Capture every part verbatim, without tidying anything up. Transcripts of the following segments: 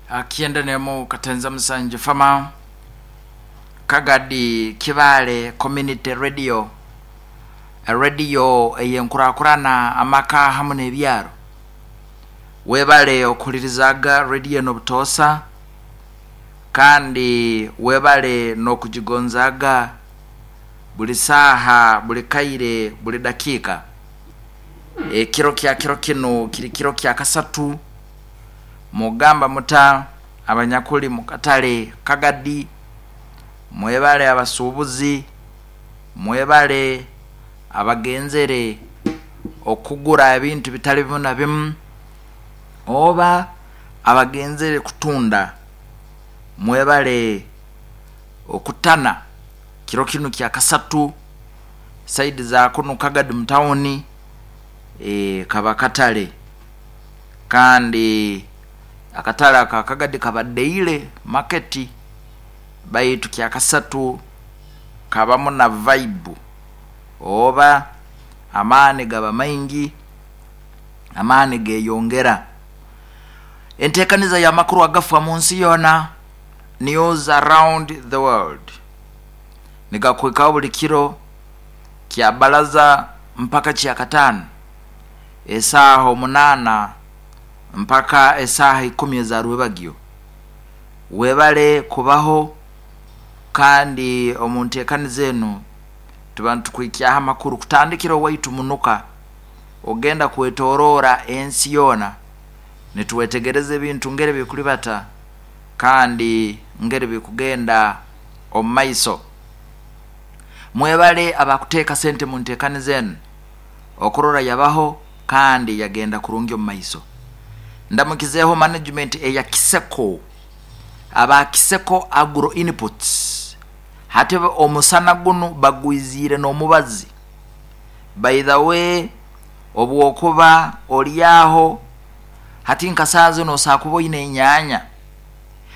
Kyenda nemu katenza musanju fama Kagadi Kibaale Community Radio, radio ey'enkurakurana amaka hamu n'ebyaro. Webale okuhulirizaga radio eno butoosa, kandi webale n'okugigonzaaga buli saaha, buli kaire, buli dakiika. Ekiro kya kiro kinu kiri kiro kya kasatu. Mugamba muta abanyakuli mu katale Kagadi? Mwebale abasuubuzi, mwebale abagenzere okugura ebintu bitali bimu na bimu, oba abagenzere kutunda, mwebale okutana kiro kinu kya kasatu saidi za kunu Kagadi mu tawuni. E, kaba katale, kandi akatale aka Kagadi kaba daily market, baitu kya kasatu kabamu na vibe oba amaani gaba maingi, amaani geyongera. Enteekaniza y'amakuru agafa mu nsi yoona, news around the world, nigakuhikaho buli kiro kya balaza mpaka kya kataano, esaaha omunaana mpaka esaaha ikumi eza rwebagyo. Webale kubaho, kandi omu nteekaniza enu tuba nitukuhikyaho amakuru kutandikira owaitu munuka ogenda kwetoroora ensi yoona, nitwetegereza ebintu ngeri bikulibata kandi ngeri bikugenda omu maiso. Mwebale abakuteeka sente mu nteekaniza enu okurora yabaho kandi yagenda kurungi omu maiso. Ndamukizeeho management eya Kiseko, aba Kiseko Agro Inputs. Hati omusana gunu bagwiziire n'omubazi. By the way, obwokuba oli aho hati nka saaha zinu osobola kuba oine enyaanya,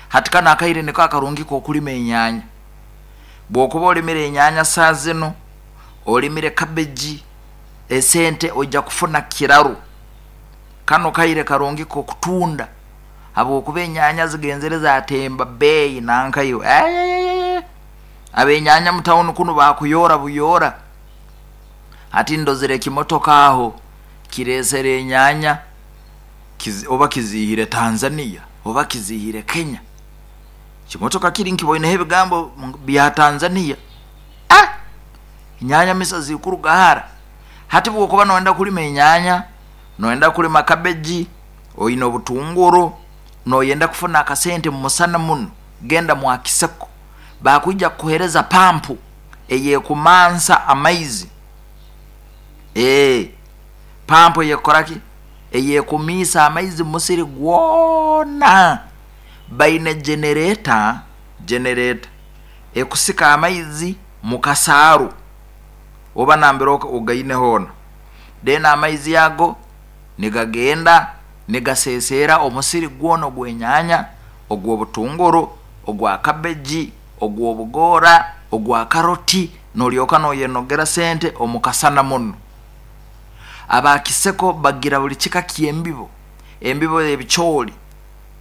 hati kanu akaire niko akarungi k'okulima enyaanya. Bw'okuba olimire enyaanya saaha zinu, olimire cabbage, esente ojja kufuna kiraru. Kanu kaire karungi k'okutunda, habwokuba enyaanya zigenzere zatemba beeyi nankaiwe. Ab'enyaanya mu tawuni kunu bakuyoora buyoora. Hati ndozere ekimotoka aho kireesere enyaanya, oba kiziihire Tanzania oba kiziihire Kenya. Kimotoka kiri nkiboineho ebigambo bya Tanzania. Ah, enyaanya misa zikuruga hara. Hati bwokuba noyenda kulima enyaanya, noyenda kulima cabbage, oine obutunguru, noyenda kufuna akasente mu musana muno, genda mwa Kiseko, bakwija kukuheereza pampu ey'ekumansa amaizi. Ee, pampu eyekukoraki? Eyekumiisa amaizi mu musiri gwona. Baine generator, generator ekusika amaizi mu kasaaru oba nambere ogaine hoona, then amaizi ago nigagenda nigaseeseera omusiri gwona ogw'enyaanya, ogw'obutunguru, ogwa cabbage, ogw'obugoora, ogwa karoti, nolyoka noyenogera sente omu kasana muno. Aba Kiseko bagira buli kika ky'embibo, embibo y'ebicooli,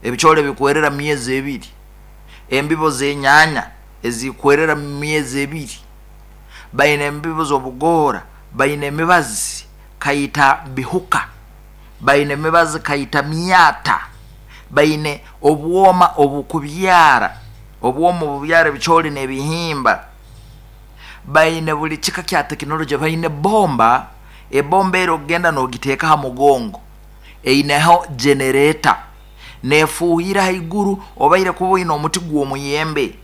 ebicooli bikwerera mu myezi ebiri, embibo z'enyaanya ezikwerera mu myezi ebiri, baine embibo z'obugoora, baine emibazi kaita bihuka, baine emibazi kaita myata, baine obwoma obukubyara, obwoma obubyara ebicooli n'ebihimba, baine buli kika kya tekinologye, baine bomba, ebomba eri okugenda n'ogiteeka ha mugongo, eineho generator, neefuuhira haiguru. Obaire kuba oine omuti gw'omuyembe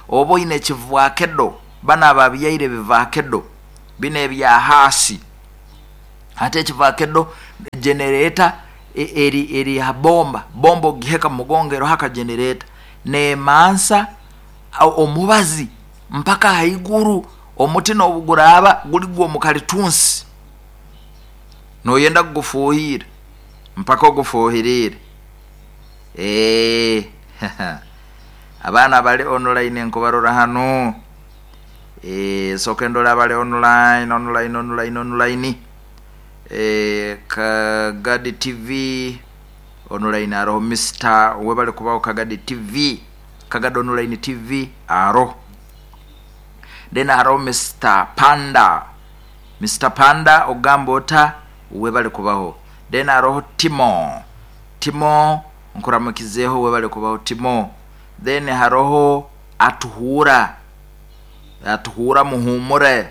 oba oine ekivakedo, banu ababyaire ebivakedo binu ebya haasi, hati ekivakedo generator eri eri ha bomba, bomba ogiheka mu mugongo eroho aka generator, neemansa omubazi mpaka haiguru. Omuti n'obu guraaba guli gw'omukalitunsi, noyenda kugufuuhirra mpaka ogufuuhiriire. Ee, abaana bali online nkubarora hanu. Ee, sooke ndole abali online, online, online, online. Ee, Kagadi T V Online aroho Mister webale kubaho Kagadi T V, Kagadi Online T V aroho. Then aroho Mister Panda, Mister Panda ogamba ota webale kubaho. Then aroho Timo, Timo nkuramukizeho webale kubaho Timo. Then haroho Atuhura, Atuhura muhumure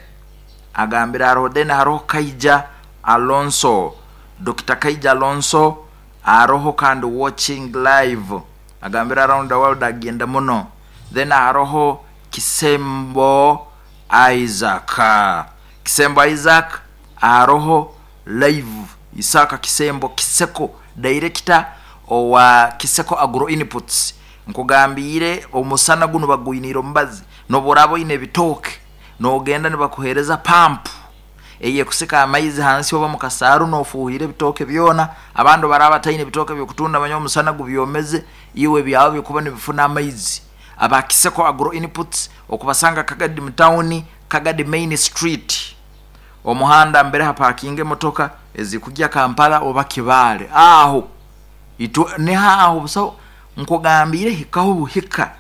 agambira aroho. Then haroho Kaija Alonso, Doctor Kaija Alonso aroho kandi watching live agambira around the world agenda muno. Then haroho Kisembo Isaac, Kisembo Isaac aroho live, Isaka Kisembo Kiseko director owa Kiseko Agro Inputs. Nkugambire omusana guno bagwinira omubazi noborabo ine bitooke nogenda nibakuhereza pump eye kusika amaizi hansi oba mukasaru nofuhire bitooke byona. Abandu baraba taine bitooke byokutunda manyo omusana gubyomeze iwe byawe bikuba nibifuna amaizi. Aba Kiseko Agro Inputs okubasanga Kagadi mutawuni, Kagadi Main Street, omuhanda mbere hapakinge motoka ezikujya Kampala oba Kibale aho itu neha aho busaho. Nkugambire hikaho buhika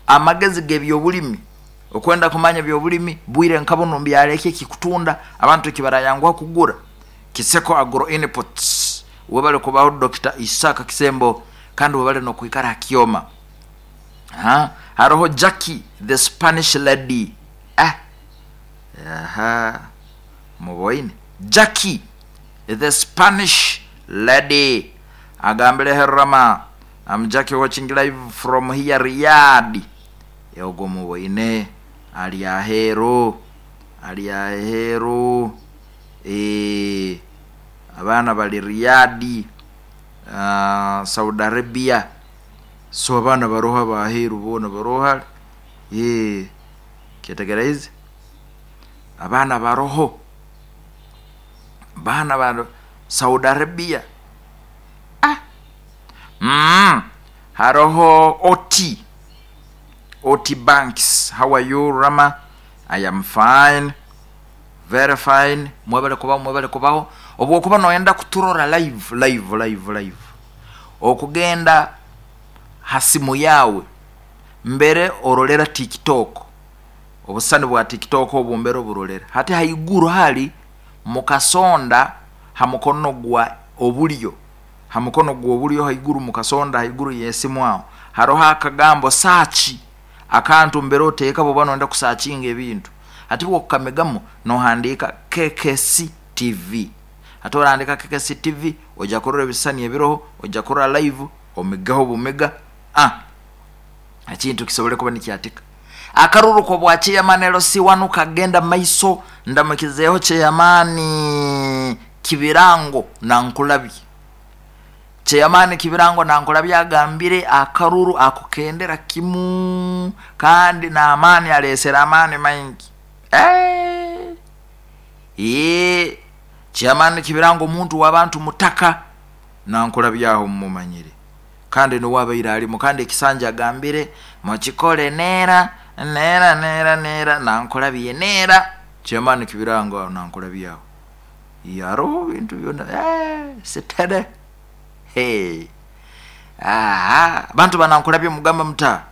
amagezi gebyobulimi okwenda kumanya byobulimi bwire nkabono mbyaleke kikutunda abantu kibarayangwa kugura. Kiseko Agro Inputs webale kubaho Doctor Isaka Kisembo kandi webale no kuikara kioma. Ha haroho Jackie the Spanish lady, ah aha muboine Jackie the Spanish lady agambire herama I'm Jackie watching live from here Riyadh. Yogo muboine ali ahero ali ahero eh abana bali Riyadh, uh, Saudi Arabia. So abana baroha baheru bona baroha eh categorize abana baroho bana ba Saudi Arabia. Ah mm haroho Oti Oti Banks, how are you Rama? I am fine, very fine. Mwebale kubaho, mwebale kubaho. Obwo kuba noyenda kuturora live live live live okugenda hasimu yawe mbere orolera TikTok, obusani bwa TikTok obumbere oburolera hati haiguru hali mukasonda hamukono gwa obulyo, hamukono gwa obulyo haiguru mukasonda haiguru yesimu aho haroho akagambo search akantu mbere oteka boba nonda kusacinga ebintu ati bwokamegamo nohandika K K C T V. Ati orandika K K C T V oja kurora ebisani ebiroho, oja kurora live omigaho bumega ah ekintu kisobole kuba nikyatika. Akaruru ko bwa chairman L C one kagenda maiso ndamukizeho chairman Kibirango na Nkulabi. Chairman Kibirango na Nkulabi agambire akaruru akukendera kimu kandi na amani alesera amani maingi. Eh eh chairman Kibirango muntu wabantu mutaka na Nkulabi aho mumanyire kandi no wabaira alimo kandi ekisanja agambire mukikole nera nera nera nera na Nkulabi nera. Chairman Kibirango na Nkulabi aho yaro bintu byona eh sitere hey ah bantu banankulabye mugamba muta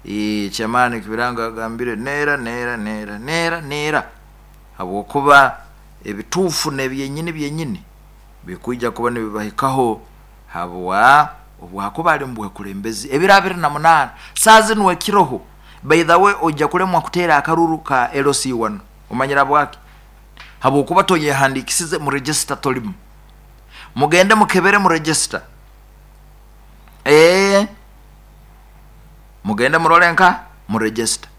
eh chairman Kibirango agambire nera nera nera nera nera habwokuba ebitufu nebyenyini byenyini bikuija kuba nibibahikaho habwa obwakuba ali mbwe kulembezi ebiro abiri na munana sazi nuwe kiroho. By the way ojja kulemwa kutera akaruru ka L C one omanyira bwaki habwokuba toyehandikisize mu register tolimu. Mugende mukebere mu register eh mugende murolenka mu register.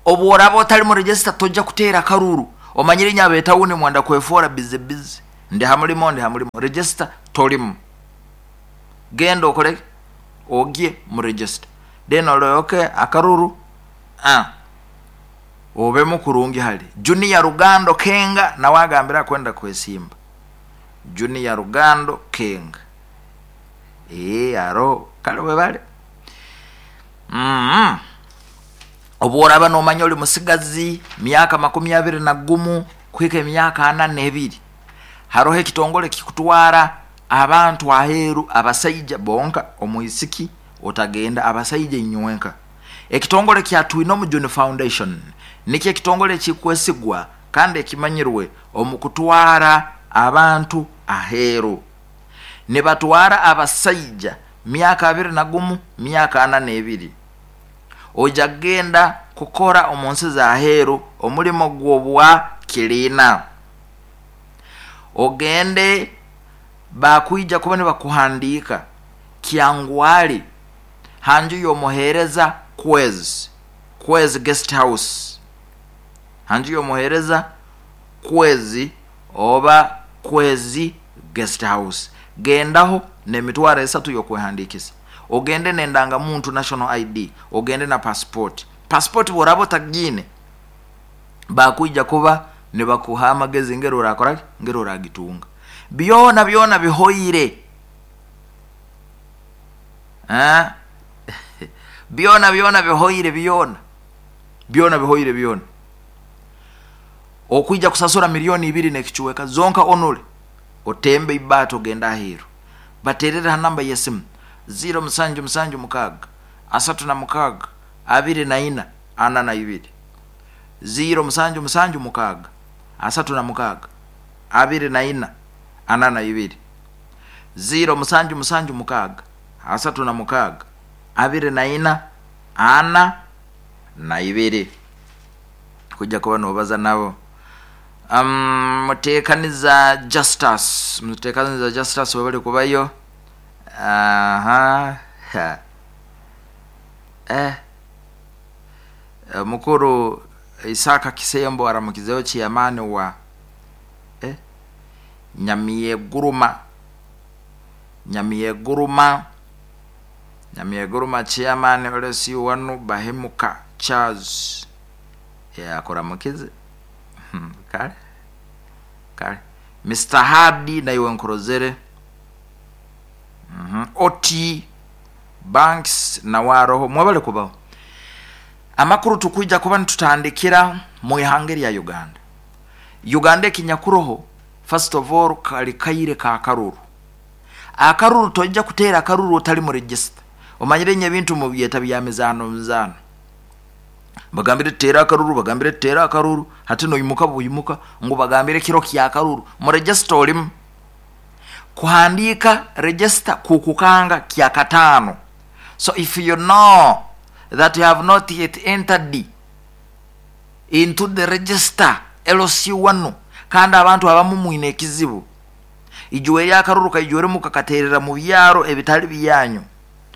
Obworaba otali mu register tojja kutera akaruru omanyire nyabe tawuni mwanda kwefora busy busy ndi hamulimo ndi hamulimo register tolimu. Genda okole ogie mu register then oloyoke akaruru ah obe mukurungi hali Junior Rugando Kenga na wagambira kwenda kwesimba Junior Rugando Kenga eh aro kale webale mm obworaba nomanya oli musigazi myaka makumi abiri na gumu kwika emyaka ana n'ebiri haroho ekitongole kikutwara abantu aheeru abasaija bonka, omwisiki otagenda, abasaija inywenka. Ekitongole kya Twinomujuni Foundation nikyo ekitongole ekikwesigwa kandi ekimanyirwe omu kutwara abantu aheeru. Nibatwara abasaija myaka abiri na gumu, myaka ana n'ebiri. Oija kugenda kukora omu nsi za aheeru omulimo gw'obwa kiliina. Ogende bakwija kuba nibakuhandiika Kyangwali hanju y'omuheereza Kwezi, Kwezi Guest House. Hanju y'omuheereza Kwezi oba Kwezi Guest House. Gendaho n'emitwaro esatu y'okwehandiikisa. Ogende n'endangamuntu National I D, ogende na passport. Passport bw'oraba otagiine bakwija kuba nibakuha amagezi ngeri orakora ngeri oragitunga. Byona byona bihoire. Eh? Byona byona bihoire byona. Byona bihoire byona. Okwija kusasura milioni ibiri n'ekichweka zonka onule otembe ibato genda aheeru. Baterera namba ya simu zero musanju musanju mukaga asatu na mukaga abiri na ina ana na ibiri. Zero musanju musanju mukaga asatu na mukaga abiri na ina ana na ibiri. Zero musanju musanju mukaga asatu na mukaga abiri na ina ana na ibiri. Kujja kuba nobaza nabo. Um, mutekaniza Justus, mutekaniza Justus wabali kubayo. Aha. Ha. Eh. Mukuru Isaka Kisembo aramukizeho chairman wa eh Nyamieguruma. Nyamieguruma. Nyamieguruma chairman olesi wanu Bahemuka Charles. Ya akora mukize. Hmm, kale. Kale. Mister Hardy na iwe nkorozere. Mm-hmm. Oti Banks na waroho mwabale kubaho. Amakuru tukuija kuba nitutandikira mu ihanga lya Uganda. Uganda ekinyakuroho first of all kali kaire ka karuru. Akaruru tojja kutera akaruru otali mu register. Omanyire nye bintu mu byeta bya mizano mizano. Bagambire tera akaruru, bagambire tera akaruru, hati no yimuka buyimuka ngo bagambire kiro kya akaruru. Mu register olimu kuhandika register kukukanga kya katano. So if you know that you have not yet entered into the register L C one, kandi abantu abamu mwine ekizibu ijuwe lyakaruru kaijwere mukakaterera mu byaro ebitali byanyu.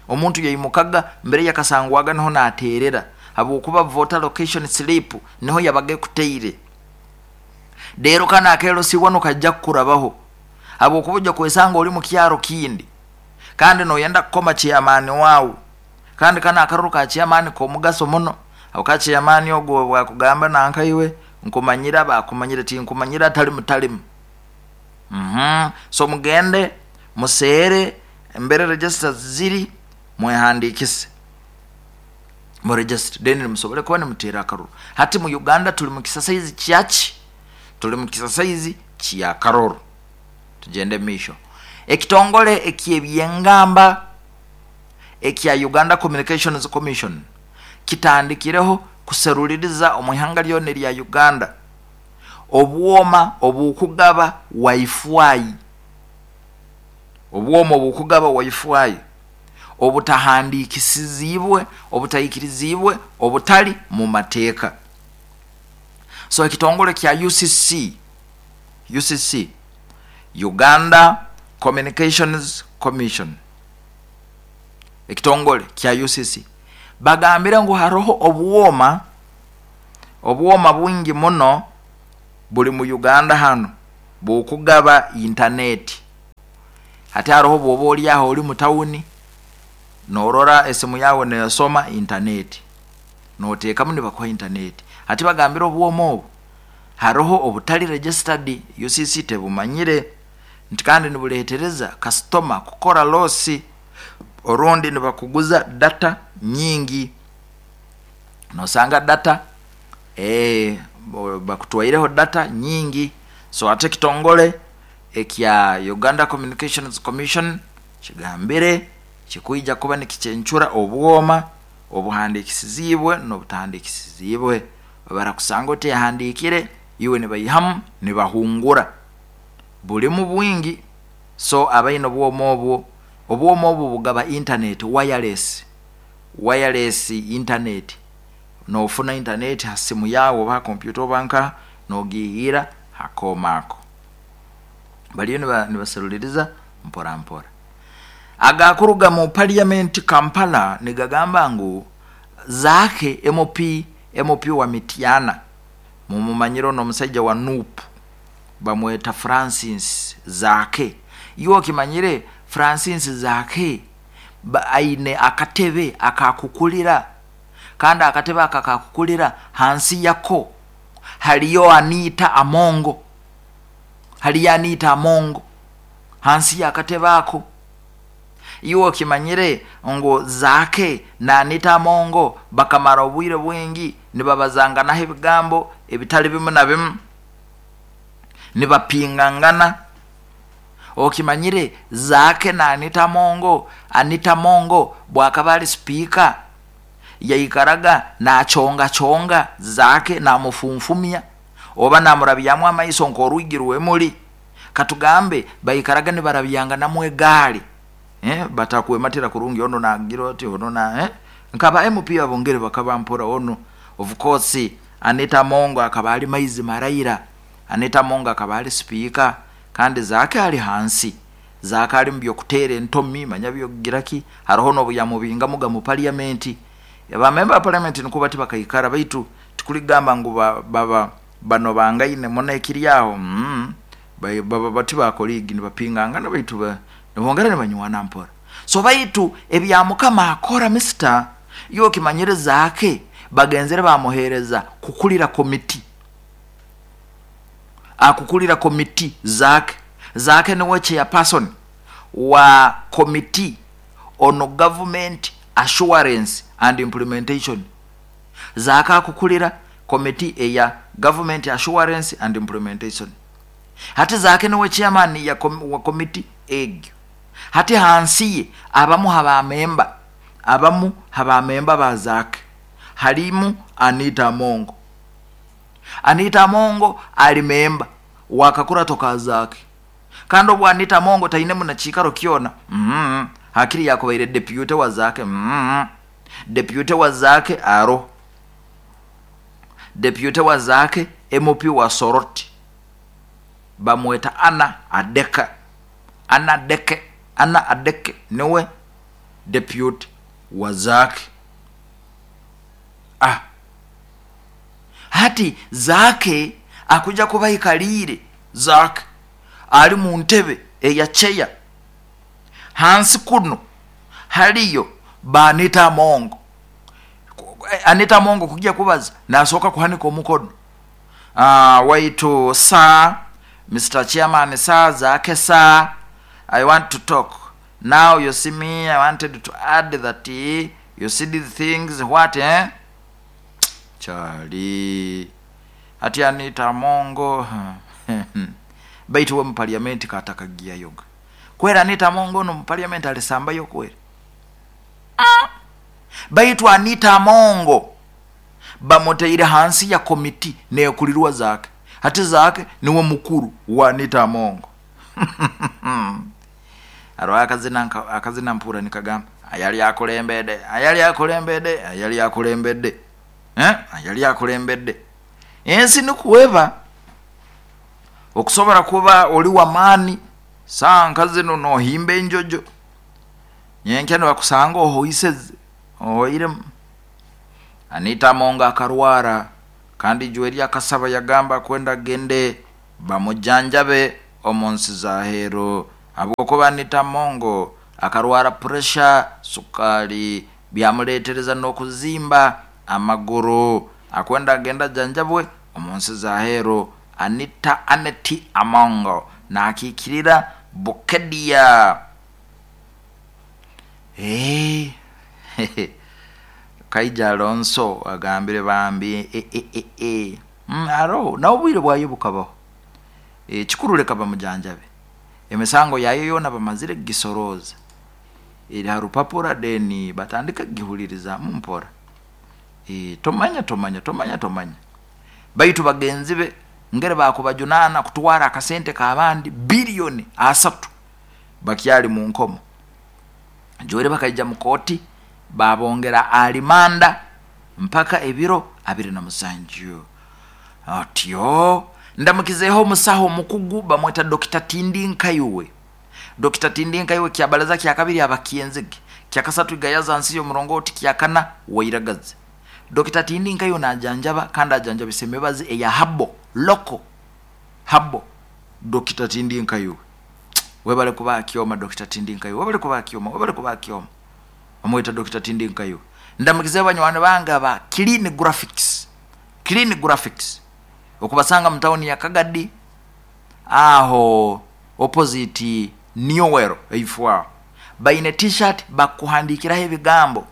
Omuntu yayimukaga mbere yakasangwaga niho naterera habwokuba voter location slip niho yabage kuteire. Dero kana akelo C one kajja kukurabaho habwokuba ojja kwesanga oli mu kyaro kindi kandi noyenda kukoma chairman wawu, kandi kana akaruru ka chairman ko mugaso muno. Abo ka chairman ogwo bwakugamba nankaiwe nkumanyira bakumanyira ti nkumanyira tali mutalimu. Mhm. So mugende musere mbere register ziri mwehandikise mu register then musobole kuba nimutera akaruru. Hati mu Uganda tuli mu kisasaizi kyachi, tuli mu kisasaizi kya karuru. Tugende misho ekitongole ekyebyengamba ekya Uganda Communications Commission kitandikireho kuseruliriza omuhanga lyone lya Uganda obwoma obukugaba wifi, obwoma obukugaba wifi obutahandikisizibwe, obutayikirizibwe, obutali mu mateeka. So ekitongole kya U C C, U C C Uganda Communications Commission, ekitongole kya U C C bagambira ngu haroho obwoma, obwoma bwingi muno buli mu Uganda hano bukugaba internet. Hati haroho bwoba oli aho oli mu tawuni norora esimu yawe nesoma internet, noteekamu nibakuha internet. Hati bagambira obwoma obu haroho obutali registered, U C C tebumanyire nti kandi nibuleetereza customer kukora losi, orundi nibakuguza data nyingi. Nosanga data eh bakutwaireho data nyingi. So ate kitongole ekya Uganda Communications Commission kigambire kikwija kuba nikikyencura obwoma obuhandikisizibwe n'obutahandikisizibwe. Barakusanga otehandiikire iwe nibaihamu nibahungura bulimu bwingi. So abaine obwoma obwo, obwoma obwo bugaba internet wireless, wireless internet, nofuna internet ha simu yawe oba ha kompyuta oba nka nogihira hakooma ako baliyo nibaseruliriza mpora mpora. Agakuruga mu parliament Kampala nigagamba ngu Zaake M P, M P wa Mityana mumumanyiro n'omusajja wa N U P bamweta Francis Zaake. Iwe okimanyire Francis Zaake aine akatebe akakukulira, kandi akatebe akakakukulira hansi yako haliyo Anita Amongo, haliyo Anita Amongo hansi y'akatebe ako. Iwe okimanyire ngu Zaake na Anita Amongo bakamara obwire bwingi nibabazanganaho ebigambo ebitali bimu na bimu, nibapingangana. Okimanyire Zaake na Anita Amongo, Anita Amongo bwakaba ali speaker yaikaraga nachonga chonga Zaake namufumfumya oba namurabyamu amaiso nk'orwigi rw'emuli. Katugambe baikaraga nibarabyanga namwe egaali, eh, batakwematira kurungi ono nagira oti ono na eh? Nkaba M P abongere bakaba mpora ono. Of course Anita Amongo akaba ali maizi maraira, Anita Amongo akaba ali speaker kandi Zaake ali hansi. Zaake ali mu byokutera entomi manya byokugiraki haroho n'obuyamubinga muga mu parliament. Ba member parliament nikuba tibakaikara baitu tikuligamba ngu baba bano bangaine mona ekiryaho mm, baba bati bakoligi nibapingangana baitu ba nibongera nibanywana mpora. So baitu ebya Mukama akora mister yo kimanyire Zaake bagenzere bamuhereza kukulira komiti, akukulira komiti Zaake. Zaake niwe chairperson wa committee on government assurance and implementation. Zaake akukulira komiti eya government assurance and implementation. Hati Zaake niwe chairman ya kom, wa komiti egyo. Hati hansi abamu haba memba, abamu haba memba ba Zaake halimu Anita Amongo. Anita Amongo ali memba wakakura toka Zaake. Kandi obwo Anita Amongo taine muna chikaro kiona mm-hmm. Hakiri yakobaire deputy wa Zaake mm-hmm. Deputy wa Zaake aro deputy wa Zaake M P wa Soroti bamweta Anna Adeka, Anna Adeke, Anna Adeke niwe deputy wa Zaake. Ah, hati Zaake akuja kubaikalire Zaake ali mu ntebe eya cheya hansi kuno haliyo ba Anita Amongo. Anita Amongo kujia kubaza nasoka kuhanika omukono. Ah, waitu sa Mister Chairman sa Zaake sa I want to talk now. You see me, I wanted to add that you see these things what eh Charlie ati Anita Amongo baitu we mu parliament katakagia yoga kwera Anita Amongo no mu parliament alisambayo kwera. Ah, baitu Anita Amongo bamuteire hansi ya komiti nekulirwa Zaake. Hati Zaake niwe mukuru wa Anita Amongo. Aro akazina akazina mpura nikagamba ayali akulembede, ayali akulembede, ayali akulembede eh ayali akulembede ensi nikuweba okusobora kuba oli wa maani sanka zino nohimba enjojo nyenkya nibakusanga ohoiseze ohoire. Anita Amongo akarwara kandi Joeli akasaba yagamba kwenda gende bamujanjabe omunsi za hero habwokuba Anita Amongo akarwara pressure, sukali byamuletereza n'okuzimba amaguru akwenda genda janjabwe omunsi za hero. Anita Aneti Amongo nakikirira Bukedia. Eh Kaija Alonso agambire bambi e e e e mm, aro na obwire bwayo bukabaho e kikuruleka bamujanjabe. Emisango yayo yoona bamazire kugisoroza eri ha rupapura, then batandika kugihulirizamu mpora. E, tomanya tomanya tomanya tomanya baitu bagenzi be ngere bakubajunana kutwara akasente k'abandi biliyoni asatu bakyali mu nkomo. Joere bakaija mu kooti babongera alimanda mpaka ebiro abiri na musanju. Otyo ndamukizeho omusaho omukugu bamweta Dokita Tindi Nkaiwe. Dokita Tindi Nkaiwe kyabalaza kyakabiri abakyenzige, kyakasatu igayaza nsi y'omurongoti, kyakana wairagaze. Dokita Tindi Nkaiwe najanjaba kandi ajanjabisa emibazi eya habo loko habo. Dokita Tindi Nkaiwe webale kuba akioma. Dokita Tindi Nkaiwe webale kuba akioma, webale kuba akioma. Amweta Dokita Tindi Nkaiwe. Ndamukize banywani bange aba Clean Graphics, Clean Graphics okubasanga mu tawuni ya Kagadi aho opposite Newell eifwa. Baine t-shirt bakuhandikiraho ebigambo.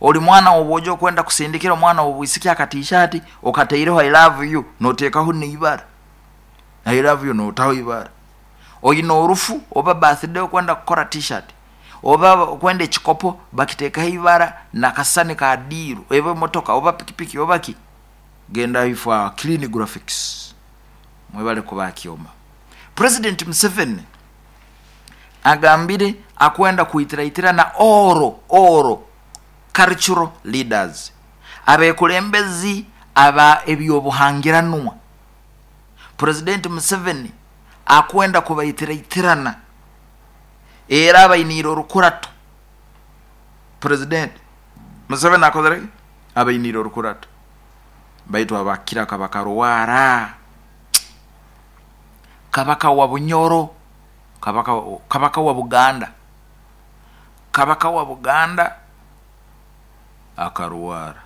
Oli mwana wobojo kwenda kusindikira omwana wobwisiki aka t-shirt okateireho I love you, notekaho neibara I love you, notaho ibara. Oyina orufu oba birthday okwenda kukora t-shirt oba okwenda ekikopo bakitekaho ibara nakasani ka diru ebe motoka oba pikipiki oba ki, genda ifwa Clean Graphics. Mwebale kuba kioma. President Museveni agambire akwenda kuitiraitira na oro oro cultural leaders, abekulembezi aba ebyobuhangiranwa. President Museveni akwenda kubaitiratirana era abainire orukurato. President Museveni akozere abainire orukurato baitu abakira kabaka ruwara, kabaka wa Bunyoro, kabaka, kabaka wa Buganda, kabaka wa Buganda akaruwara,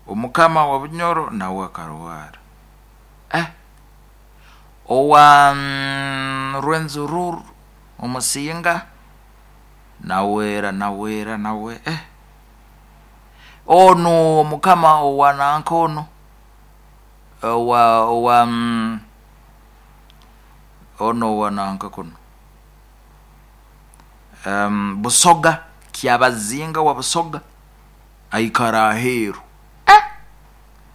omukama wa Bunyoro nawe akaruwara, eh owa mm, Rwenzururu omusinga nawera nawera nawe eh ono omukama owa nanka ono owa owa mm, ono owa nanka kuno um, Busoga kyabazinga wa Busoga aikara aheru eh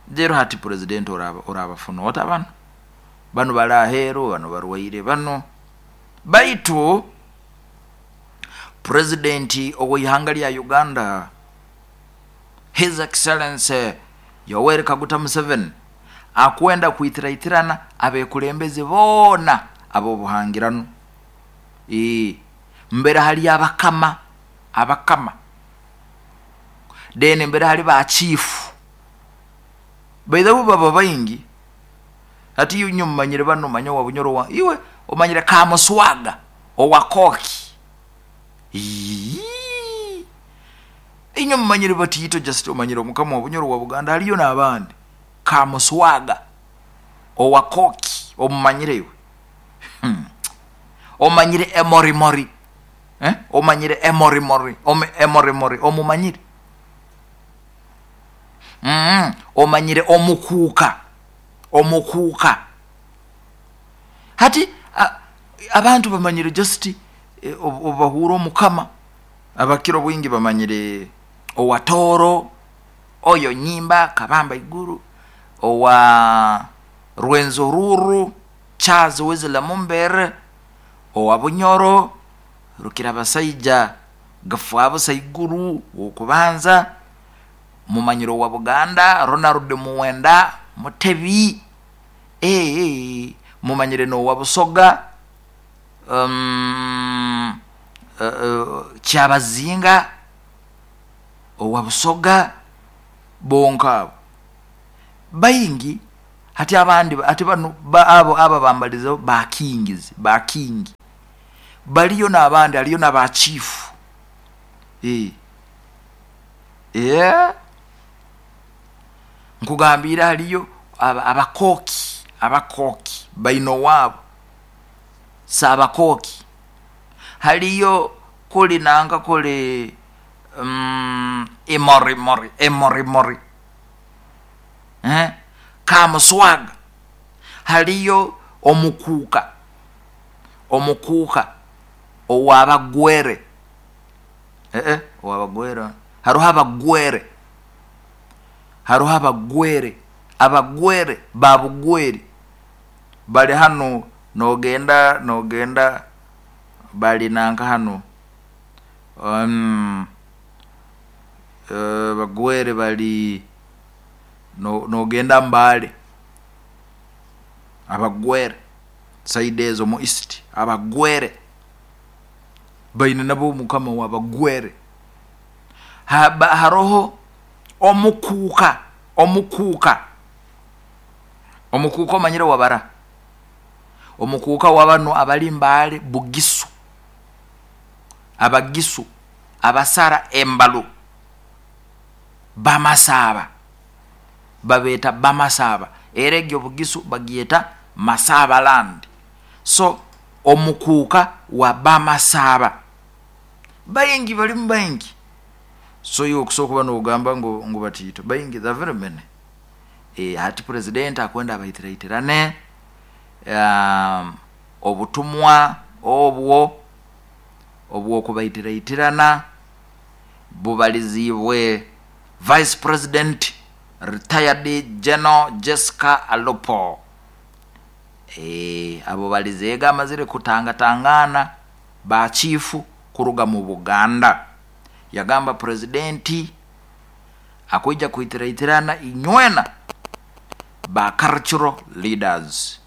jero hati president oraba orabafuna ota bano bano bali aheru, bano barwaire bano. Baitu president ow'ihanga lya Uganda His Excellency Yoweri Kaguta Museveni akwenda kuitiraitirana abekulembezi boona abobuhangirano. E, mbere hali abakama abakama deni mbere hali ba chief baithabu baba baingi. Ati inyo mumanyire bano manya wa Bunyoro wa iwe omanyire Kamuswaga owa Koki. Inyo mumanyire batito just omanyire omukama wa Bunyoro wa Buganda aliyo n'abandi. Kamuswaga owa Koki omumanyire iwe. Hmm. Omanyire emorimori. Eh? Omanyire emorimori, ome emorimori omumanyire. Mm, omanyire omukuuka. Omukuuka. Hati a, abantu bamanyire just e, obahura omukama abakiro bwingi bamanyire owatoro oyo nyimba kabamba iguru owa Rwenzururu Charles Wesley Mumbere owa Bunyoro Rukira basaija Gafwabo Saiguru okubanza mumanyiro wa Buganda Ronald Muwenda Mutebi eh mumanyire no wa Busoga um uh, uh, Kyabazinga owa Busoga bonka bayingi. Hati abandi ati bano ba, abo aba bambaliza ba kings ba king baliyo n'abandi aliyo na ba chief eh eh nkugambira aliyo abakoki abakoki baino wabo sabakoki haliyo kuli nanga kuli um, emori mori emori mori eh Kamuswaga haliyo omukuka Omukuuka owabagwere ee owabagwere haroho abagwere haroho abagwere abagwere babugweri bali hano nogenda nogenda bali nanka hano um, uh, bagwere bali no, nogenda Mbale, abagwere side ezo mu east, abagwere baine nabo mukama wabagwere. Haba haroho omukuuka omukuuka omukuuka omanyire wabara omukuuka wabano abali Mbale Bugisu, abagisu abasara embalu bamasaba babeta bamasaba, era egyo Bugisu bagyeta Masaba land. So omukuuka wa bamasaba baingi, balimu baingi. So iwe okusobola kuba nogamba ngu, ngu batiito baingi, the very many. E, hati president akwenda abahitiraitirane um, obutumwa obwo obwokubahitiraitirana bubalizibwe Vice President retired General Jessica Alupo. E, abo balizega amazire kutangatangana ba chifu kuruga mu Buganda. Yagamba presidenti akwija kuhitiraitirana inywena ba cultural leaders.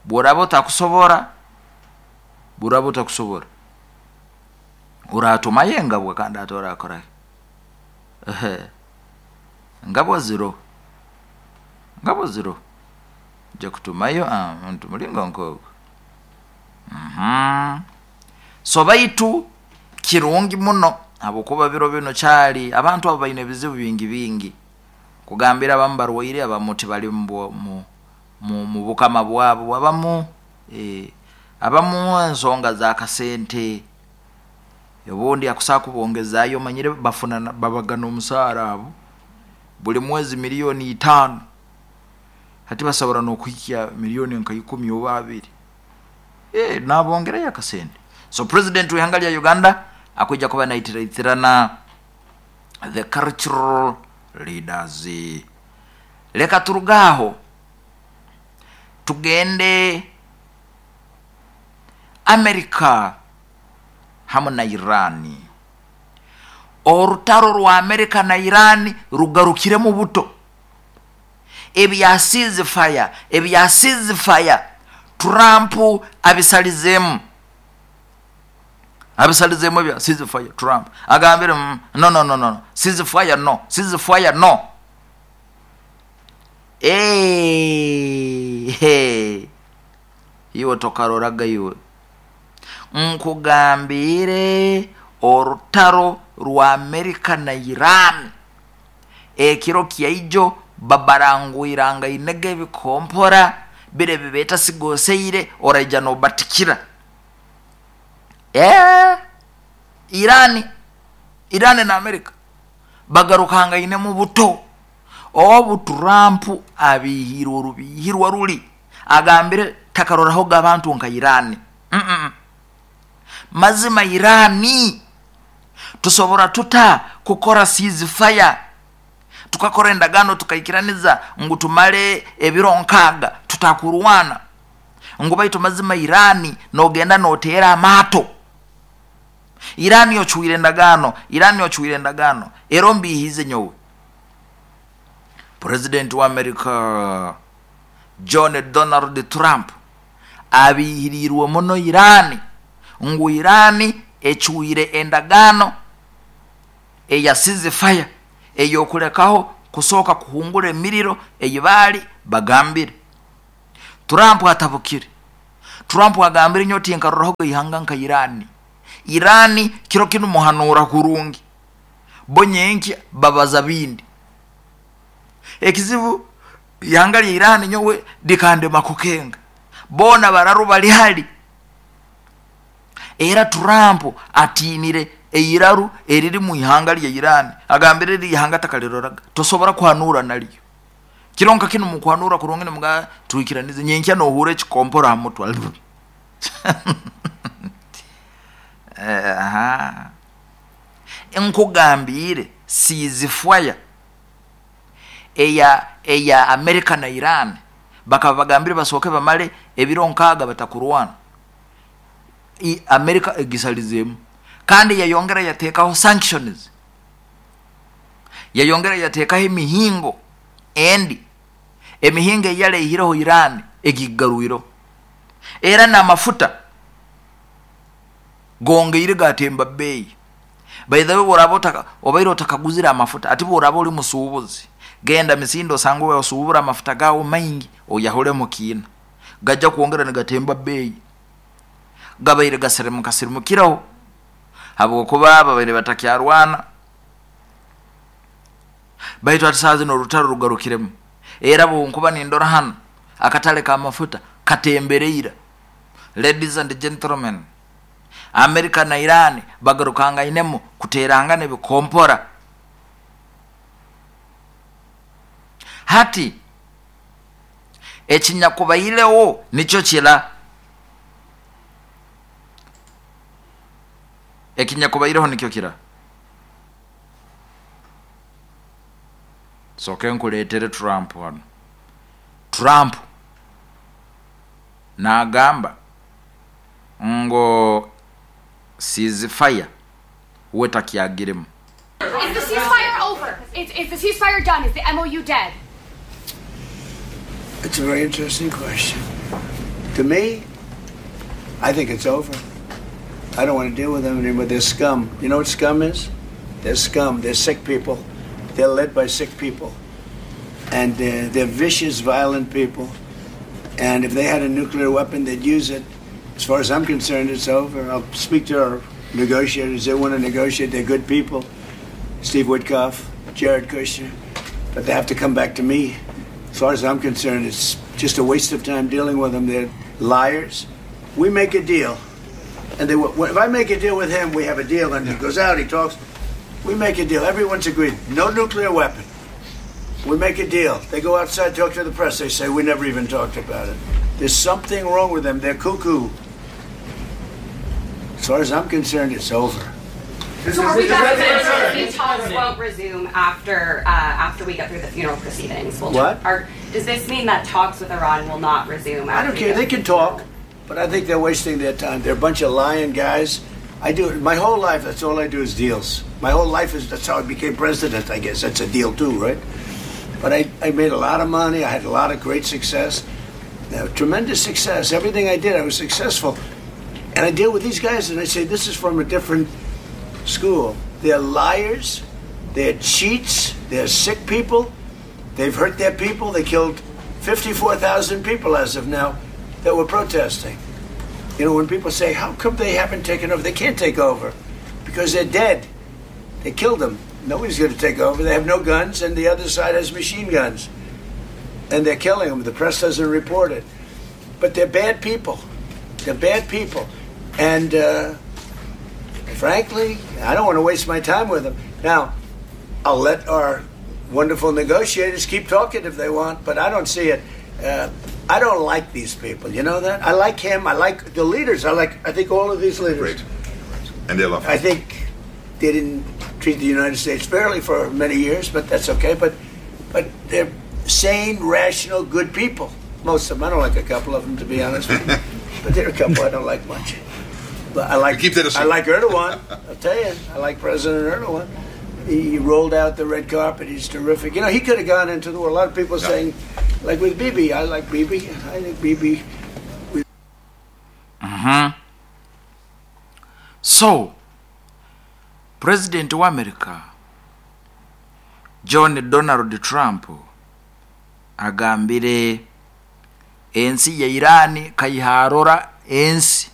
Bworaba otakusobora, bworaba otakusobora uratumayo engabwa kandi ate orakorahe ngabwa ziro ngabwa ziro nja kutumayo muntu mulingo nkogo. Mhm so baitu kirungi muno habwokuba biro bino kyali abantu abo baine ebizibu bingi bingi kugambira abamu barwaire, abamu tibali mu, mu, mu bukama bwabo, abamu eh, abamu ensonga za kasente obundi akusaa kubongezayo manyire bafuna babagana omusaara abo buli mwezi milioni itaano, hati basobora nokuhikya milioni nka ikumi oba abiri eh, nabongerayo akasente. So president w'ihanga lya Uganda akwija kuba naitiraitirana the cultural leaders. Leka turugaho tugende Amerika hamu na Irani. Orutaro rwa Amerika na Irani rugarukiremu buto. Ebya ceasefire ebya ceasefire Trump abisalizemu abisalizemu ebya ceasefire. Trump agambire mm, no no no no ceasefire no ceasefire no. Eh hey. Iwe tokaroraga iwe nkugambire orutaro rwa Amerika na Iran ekiro kyaijo babarangwiranga inege ebikompora bire bibeta sigoseire oraija nobatikira. Eh Irani Irani na Amerika bagarukanga ine mu buto. Obu Trump abihirwa rubihirwa ruli agambire takaroraho abantu nka Irani. Mm -mm. Mazima Irani tusobora tuta kukora ceasefire, tukakora endagano tukaikiraniza ngu tumale ebiro nkaga tutakurwana, ngu baitu mazima Irani nogenda notera amato. Irani yochuire endagano, Irani yochuire endagano ero mbihize nyowe. President wa America John Donald Trump abihirirwe muno Irani ngu Irani echuire endagano eya ceasefire eyokulekaho kusoka kuhungura emiriro eyibali bagambire. Trump atabukire. Trump agambire nyoti nkaroraho ihanga nka Irani. Irani kiro kinu muhanura kurungi bonyenki babaza bindi ekizibu ihanga lya Irani nyowe dikande makukenga bona bararu bali hali. Era Trump atinire eiraru eriri mu ihanga lya Irani agambire ri ihanga takaliroraga tosobora kuhanura nalyo kironka kinu mukwanura kurungi mga tuikiranize nyenkya no hure chikompora mutwa. Aha, nkugambire, ceasefire eya eya America na Iran, bakaba bagambire basooke bamale ebiro nkaaga batakurwana. I America egisalizemu, kandi yayongera yateekaho sanctions, yayongera yateekaho emihingo endi, emihingo eyalehireho Iran egigarwiro, era n'amafuta gongeire gatemba bbeeyi. By the way, bworaba otaka obaire otakaguzire amafuta, ati bworaba oli musuubuzi, genda misinde osange osuubura amafuta gawo maingi, oyahulemu kiina, gajja kwongera nigatemba bbeeyi. Gabaire gasirimuka sirimukiraho habwokuba babaire batakyarwana, baitu ati saa zino orutaro rugarukiremu. Era bwenkuba nindora hano akatale k'amafuta katembereira. Ladies and gentlemen, America na Iran bagarukangainemu kuterangana ebikompora. Hati ekinyakubaireho nikyo kira, ekinyakubaireho nikyo kira. Soke nkuleetere Trump hano. Trump n'agamba ngo ceasefire we takyagiremu. Is the ceasefire over? Is, is the ceasefire done? Is the M O U dead? It's a very interesting question. To me, I think it's over. I don't want to deal with them anymore. They're scum. You know what scum is? They're scum. They're sick people. They're led by sick people. And uh, they're vicious, violent people. And if they had a nuclear weapon, they'd use it. As far as I'm concerned, it's over. I'll speak to our negotiators. They want to negotiate. They're good people. Steve Witkoff, Jared Kushner. But they have to come back to me. As far as I'm concerned, it's just a waste of time dealing with them. They're liars. We make a deal. And they, if I make a deal with him, we have a deal. And he goes out, he talks. We make a deal. Everyone's agreed. No nuclear weapon. We make a deal. They go outside, talk to the press. They say, we never even talked about it. There's something wrong with them. They're cuckoo. As far as I'm concerned, it's over. So are we back to the talks won't resume after uh, after we get through the funeral proceedings? We'll what? Are, does this mean that talks with Iran will not resume? I don't care. They can talk, but I think they're wasting their time. They're a bunch of lying guys. I do it my whole life. That's all I do is deals. My whole life is that's how I became president. I guess that's a deal too, right? But I, I made a lot of money. I had a lot of great success, uh, tremendous success. Everything I did, I was successful. And I deal with these guys, and I say, this is from a different school. They're liars. They're cheats. They're sick people. They've hurt their people. They killed fifty-four thousand people as of now that were protesting. You know, when people say, how come they haven't taken over? They can't take over because they're dead. They killed them. Nobody's going to take over. They have no guns, and the other side has machine guns. And they're killing them. The press doesn't report it. But they're bad people. They're bad people. And uh, frankly, I don't want to waste my time with them. Now, I'll let our wonderful negotiators keep talking if they want, but I don't see it. Uh, I don't like these people. You know that? I like him. I like the leaders. I like, I think all of these leaders. Great. And they love him. I think they didn't treat the United States fairly for many years, but that's okay. But, but they're sane, rational, good people. Most of them. I don't like a couple of them, to be honest with you. But there are a couple I don't like much. But I like keep that a I like Erdogan. I'll tell you, I like President Erdogan. He rolled out the red carpet. He's terrific. You know, he could have gone into the war. A lot of people yeah. saying, like with Bibi, I like Bibi. I think Bibi. Mm-hmm. So, President wa America, John Donald Trump, agambire ensi ya Irani kaiharora ensi